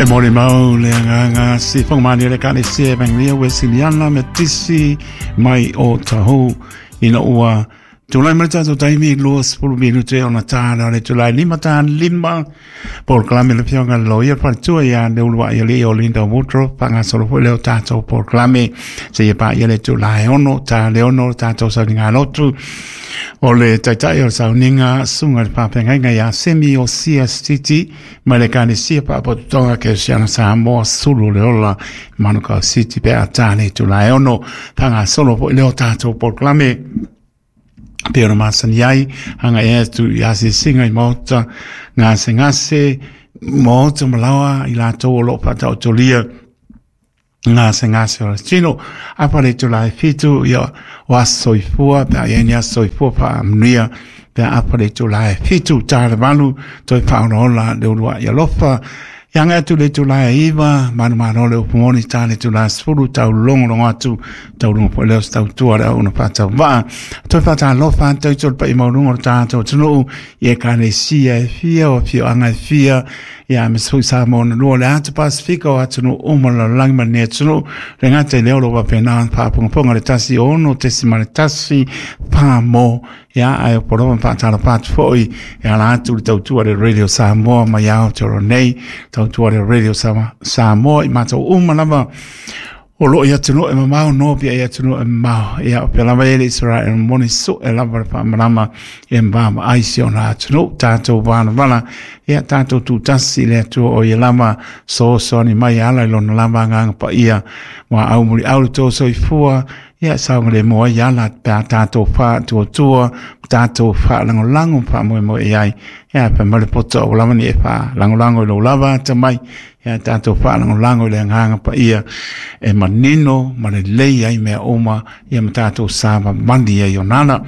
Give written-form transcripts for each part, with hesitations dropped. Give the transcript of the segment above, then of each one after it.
E molimau le agaga sifoga malie le Ekalesia Evangelia Wesiliana Metisi mai o Tahu ina ua tulai mai le tatou taimi 20 minute ona tāna o le tulai lima tā lima polokalame le afioga i le loia faletua ia Leuluai Alii o Linda Woodruff faagasolo foi lea o tatou polokalame seia paia le itula e 6 ta le 6 o le tatou sauniga lotu o le taitai o le sauniga susuga i le faafeagaiga ia Semi o CSTT mai le Ekalesia Faapotopotoga Kerisiano Samoa Sulu o le Ola Manukau City pe a tā le itula e 6 faagasolo foi lea o tatou polokalame pei ona masani ai agai atu i asiasiga i maota gasegase maota ma laoa i latou o lo o faataotolia gasegase o le tino. Apa le itula e 7, ia o aso soifua pe a i ai ni aso soifua faamanuia pe a apa le itula e 7 ta le 8 toe faaolaola le uluai alofa. Ia agai atu le itula e 9, manumalo le upu moni ta le itula e 10 tau logologo atu tauluga foi lea o se tautua le auauna faatauvaa. Toe faatalofa atu i le paia maualuga o le tatou atunuu i ekalesia e fia o afioaga e fia ia aemaise foi Samoa na lua o le ata Pasifika o atunuu uma o le lalolagi ma lenei atunuu. Le gata i lea o lo o faapena ona faafogafoga le 106.1 Pamo ia ae o poloa ma faatalofa atu foi e ala atu le tautua le Radio Samoa mai Aotearoa nei, tautua le Radio Samoa i matou uma lava o loo i atunuu e mamao no pia i atunuu e mamao ia o pea lava e le Israel moni sue lava le faamalama e vaavaai si ona atunuu tatou valavala ia tatou tutasi i le Atua o ia lava soasoani mai ala i lona lava agaga paia ua aumuliau le tou soifua ia saogalemu ai ala pe a tatou faatuatua tatou faalagolago faamoemoe i ai ia fai mai le poto ua lava ni e faalagolago i lou lava atamai ia tatou faalagolago i le agaga paia e manino ma lelei ai mea uma ia ma tatou savavali ai ona ala.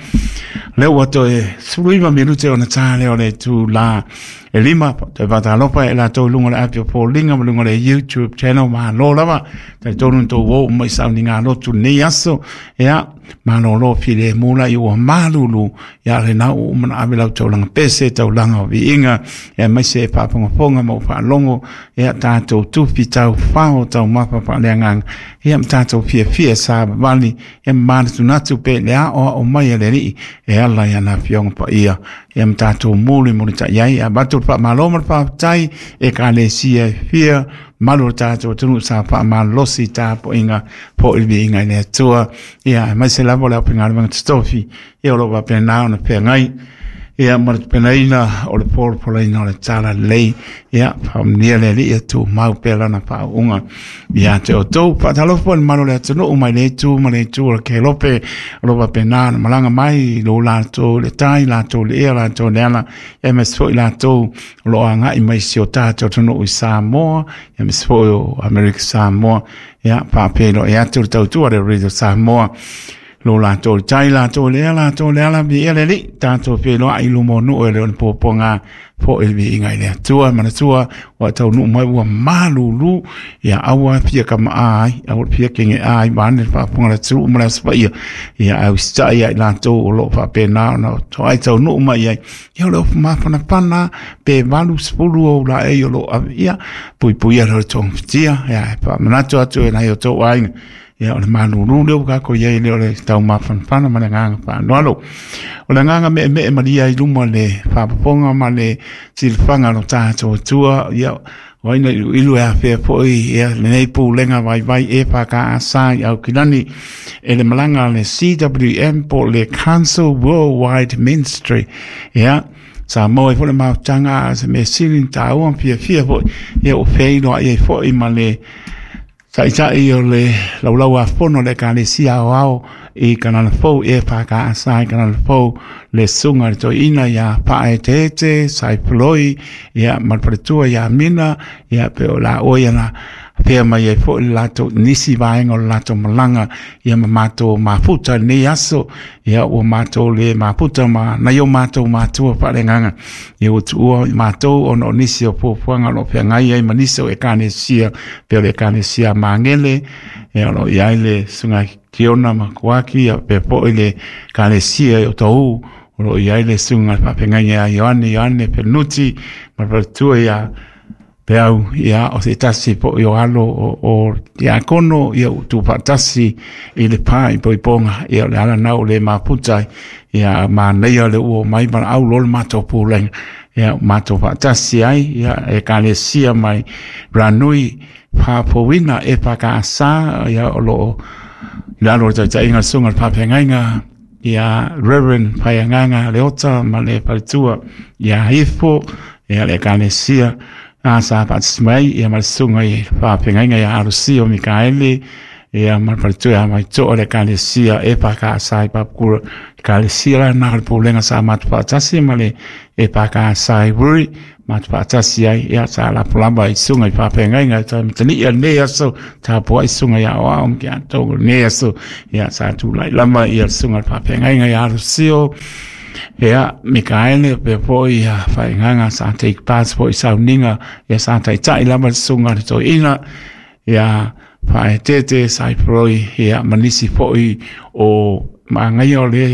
Lea ua toe 19 minute ona tā lea o le itula e 5, toe faatalofa e latou i luga o le api o Foliga ma luga o le YouTube channel, malo lava, talitonu na tou o uma i sauniga lotu lenei aso, ia, malolo filemu la i ua malulu, ia lena ua uma ona ave lau taulaga pese, taulaga o viiga, ia aemaise e faafogafoga ma ua faalogo, ia tatou tufi taufao taumafa faaleagaga, ia ma tatou fiafia savavali, ia ma manatunatu pe le aoao mai a le Alii e ala i ana afioga paia, ia ma tatou mulimulitai ai, ia avatu le faamalo ma le faafetai ekalesia e fia malu o le tatou atunuu sa faamalolosi i tapuaiga po i le viiga i le Atua, ia aemaise lava o le aufaigaluega totofi ia o lo o faapena ona feagai ia ma le tapenaina o le polopolaina o le talalelei ia faamanuia le Alii ia tumau pea lana faauuga ia te outou. Faatalofa foi i le mamalu o le atunuu mai le itu ma le itu o le Kelope o lo o faapena ona malaga mai lo latou le tai, latou le ea, latou le ala, aemaise foi latou o lo o agai mai si o tatou atunuu i Samoa, aemaise foi o Amerika Samoa. Ia faafeiloai atu le tautua a le Radio Samoa lo latou le tai, latou le ea, latou le ala, viia le Alii, tatou feiloai i luma o nuu e le o le puapuaga foi le viiga i le Atua. Manatua ua taunuu mai ua malulu, ia aua fia kama'a ai, aua fia kege'a ai vaeane le faafofoga a le atunuu ma le Aso Paia, ia ae usitai ia i latou o lo o faapena ona toai taunuu mai ai, ia o le ofu mafanafana pe 80 ou laei o lo o ave, ia puipuia lea o le togafitia, ia e faamanatu atu e nai o tou aiga, ia o le malulu lea ua tatou i ai lea o le taumafanafana ma le agaga faaaloalo. O le agaga meemee malia i luma le faafofoga ma le silafaga o lo tatou Atua, ia o ai na iluilu e afea foi ia lenei pulega vaivai EFKS i Aukilani e le malaga a le CWM po o le Council Worldwide Ministry. Ia, sa maua ai foi le mafutaga a se mea sili na taua ma fiafia foi, ia ua feiloai ai foi ma le Taitai o le Laulau-a-Fono o le Ekalesia Aoao i Kanana Fou, EFKS i Kanana Fou, le Susuga i le Toeaina ia Faaeteete Saifuloi, ia ma le faletua ia Mina, ia pe o la oe ia na afea mai ai foi le latou nisi vaega o le latou malaga, ia ma matou mafuta i lenei aso, ia ua matou le mafuta ma nai o matou matua faaleagaga, ia ua tuua i matou ona o nisi o fuafuaga o lo o feagai ai ma nisi o ekalesia, pei o le ekalesia Magele, ia o lo o i ai le Susuga Kiona Makuaki, ia faapea foi le ekalesia i Otahuhu, o lo o i ai le Susuga i le Faafeagaiga ia Ioane Ioane Fenuti ma le faletua ia Peau, ia, o se tasi poʻi o alo o tiakono, ia ua tuufaatasi i le pā i Poipoga, ia o le ala lena ua le mafuta ai, ia manaia le ua omai valaau loa le matou pulega, ia ua matou faatasi ai, ia Ekalesia mai Ranui Faafouina EFKS, ia o loo i lalo o le taitaiga a le Susuga i le Faafeagaiga ia Reverend Faiagaga Leota ma le faletua ia Ifo, ia le Ekalesia a sa faatasi mai, ia ma le Susuga i Faafeagaiga ia Alusio Mikaeli, ia ma le faletua ia Maitoa, le Ekalesia EFKS i Papakura. Ekalesia la na o le pulega sa matou faatasi ma le EFKS i Wuri, matou faatasi ai, ia sa lapo lava i susuga i faafeagaiga e toe matani'i a lenei aso, tapuai susuga i aoao ma ke atoa o lenei aso, ia sa tulai lava ia le susuga i le faafeagaiga ia Alusio, ia Mikaele pea foi ia Faiagaga sa take part foi i sauniga, ia sa taitai lava le susuga i le toeaina, ia Faaeteete Saifroi, ia ma nisi foi o magaia o le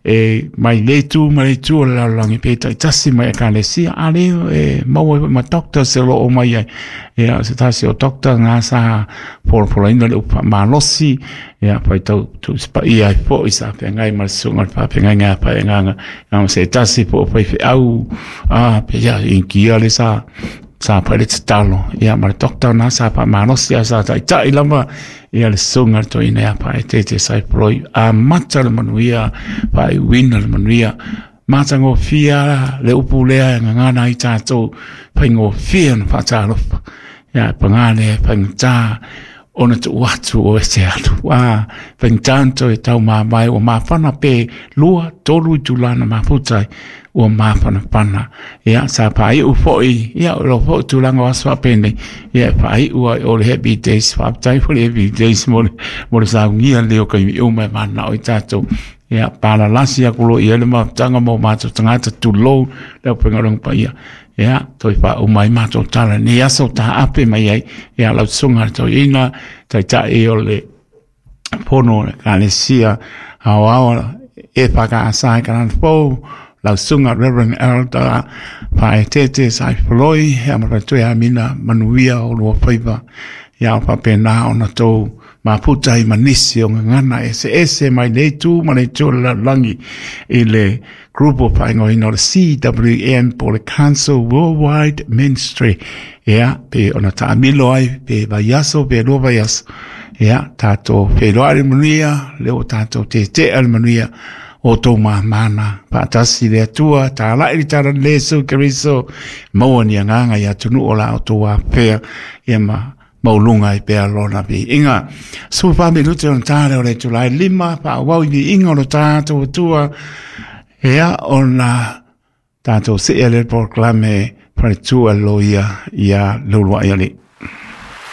e mai le itu ma le itu o le lalolagi pe taitasi mai Ekalesia, a le e maua ai foi ma doctors o lo o mai ai, ia o se tasi o doctor na sa polapolaina le upu faamalosi, ia faitau tuusipaia ai foi sa feagai ma le susuga i le faafeagaiga ia Faiagaga, ia ma se tasi foi o faifeau, a pe ia Inikia le sa sa fai le tatalo, ia ma le doctor na sa faamalosi ae sa taitai lava ia le susuga i le toeaina ia Faaeteete Saifroi. Amata le manuia, faaiuina le manuia, matagofie le upu lea e gagana ai tatou, faigofie ona faatalofa, ia paga lea e faigata ona tuu atu o ese alu. A faigata ona toe taumamae, ua mafana pe 2, 3 itula na mafuta ai, ua mafanafana. Ia, sa faaiu foi, ia, o lo foi tulaga o aso faapenei, ia, e faaiu ai o le Happy Days. Faafetai foi le Happy Days mo le saunia lenei o taimi uma e mananao ai tatou. Ia, palalasi atu loa i ai le mafutaga mo matou tagata, tulou le aufaigaluega paia. Ia, toe faauma ai matou tala i lenei aso taape mai ai, ia, lau susuga i le toeaina, taitai o le Fono o le Ekalesia Aoao EFKS i Kalanafou, lau susuga Reverend Elder Faaeteete Saifoloi, ia ma le faletua ia Amina, manuia o lua faiva, ia o faapena ona tou mafuta ai ma nisi o gagana eseese mai lenei itu ma le itu o le lalolagi i le group o faaigoaina o le CWM po o le Council Worldwide Ministry. Ia, pe ona taamilo ai, pe vaiaso, pe 2 vaiaso. Ia, tātou wheiloa le manuia, le o tātou tetea le manuia, o tō māmāna, whaatasi le Atua, tālai le tara le Yesu Keriso, maua ni anganga i atunu o la o tō wāwhea, ia ma maulunga i pea lona viiga. 14 minute ona tā lea o le itula e 5, faaauau i viiga o lo tātou Atua, ia ona tātou see le polokalame faletua loia ia Leuluai Alii.